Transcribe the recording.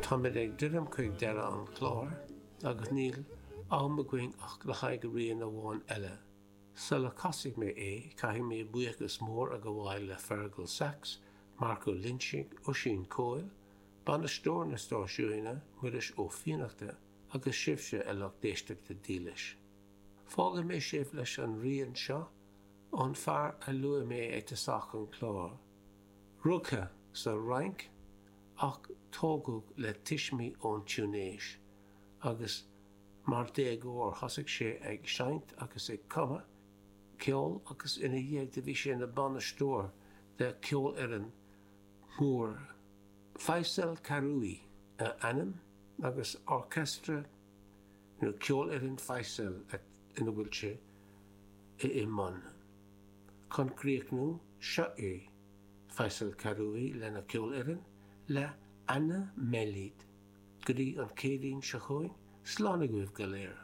Táimid ag druidim chuig deireadh an chláir agus níl am againn ach le haghaidh rian amháin eile. Sula casfaidh mé é, caithfidh mé buíochas mór a ghabháil le Feargal Saxe, Marc Ó Loinsigh, Oisín Coyle, bainisteoir na stáisiúine, Muiris Ó Fiannachta, agus sibhse, a lucht éisteachta dílis. Fágfaidh mé sibh leis an rian seo ón fear a luaigh mé ag tosach an chláir. Rugtha sa Fhrainc ach tógadh le tuismí ón Túinéis agus mar déagóir thosaigh sé ag seinnt agus ag cumadh ceoil agus ina dhiaidh do bhí sé ina bainisteoir de cheolfhoireann mhór. Fayssal Karoui a ainm agus Orchestra nó Ceolfhoireann Fayssal ina bhfuil sé i mbun. Chun críochnú, seo é Fayssal Karoui lena cheolfhoireann le Ana Melid. Go dtí an Chéadaoin seo chugainn, slán agaibh go léir.